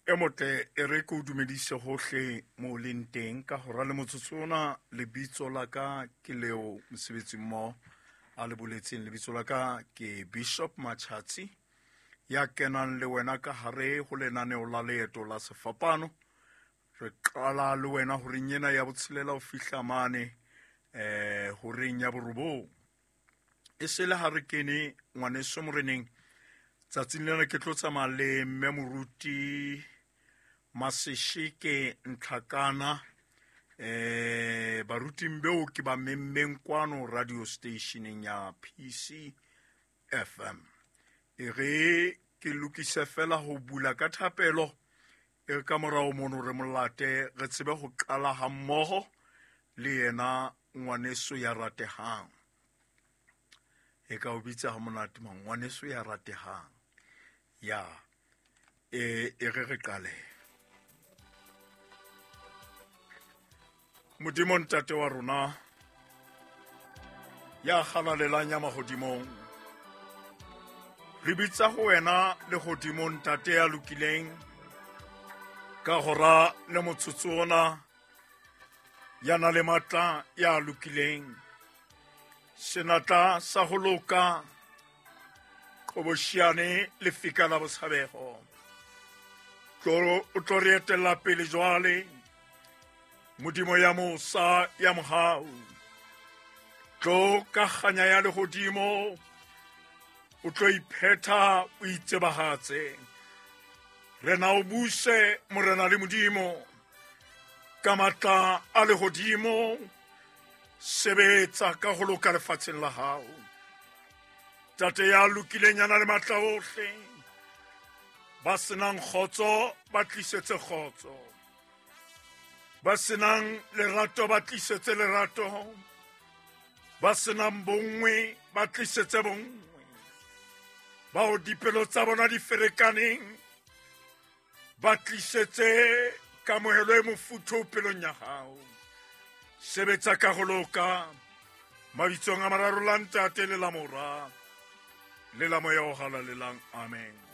E motle e re ke o dumedise hohle mo o leng teng ka hora le motsotso ona. Lebitso la ka ke leo mosebetsi mmoho a le boletseng. Lebitso la ka ke Bishop Machatsi, ya kenang le wena ka hare ho lenaneo la Leeto la Sefapano. Re qala le wena horeng ena ya botshelela ho fihla mane horeng ya borobong. E se le ha re kene ngwaneso moreneng. Tsatsing lena ke tlo tsamaya le mme moruti Masesheke Ntlhakana, baruting beo ke ba memmeng kwano radio stationeng ya PC FM. E re ke lokise fela ho bula ka thapelo, e re ka morao mono re molate re tsebe ho qala hammoho le yena ngwaneso ya ratehang. E ka o bitsa ha monate mang, ngwaneso ya ratehang. Ya e re re qale. Modimo ntate wa rona ya halalelang ya mahodimong, re bitsa ho wena lehodimong ntate ya lokileng ka hora le motsotso ona, ya na le matla ya lokileng, senatla sa ho loka, qhoboshiane lefika la botshabeho. O tlo re etella pele jwale, Modimo ya mosa ya mohau. Tlo ka kganya ya lehodimo, o tlo iphetha o itsebahatse. Rena o buse morena le Modimo ka matla a lehodimo, sebetsa ka ho loka lefatsheng la hao. Tate ya lokileng ya na le matla ohle, ba senang kgotso ba tlisetse kgotso, ba senang lerato ba tlisetse lerato, ba senang bonngwe ba tlisetse bonngwe, bao dipelo tsa bona di ferekaneng ba tlisetse kamohelo e mofuthu pelong ya hao. Sebetsa ka ho loka mabitsong a mararo la Ntate le la Mora le la Moya o Halalelang. Amen.